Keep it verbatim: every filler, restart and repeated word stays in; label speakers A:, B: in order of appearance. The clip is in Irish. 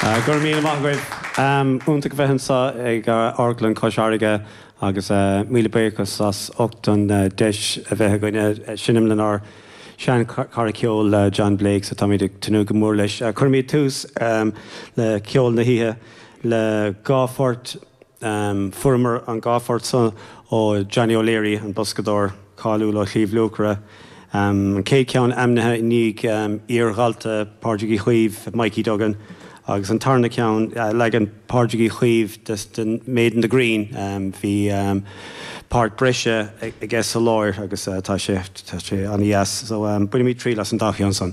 A: Go raibh míle maith agaibh. Iontach bheith anseo ag Amharclann Chois Fharraige agus míle buíochas as ucht an deis a bheith againne seinm lenár seanchara ceoil John Blake so táimid ag tnúth go mór leis. Cuirfimid tús le ceol na hoíche le dhá phort fuaireamar an dhá phort seo ó Johnny O'Leary an boscadóir cáiliúil ó Shliabh Luachra. An chéad cheann ainmnithe i ndiaidh iardhalta Pádraig Uí Chaoimh Mikey Duggan agus an tarna ceann leagan Pádraig Uí Chaoimh den Maid in the Green bhí páirt breise aige sa lár agus tá sé tá sé an-deas so bainimid triail as an dá cheann san.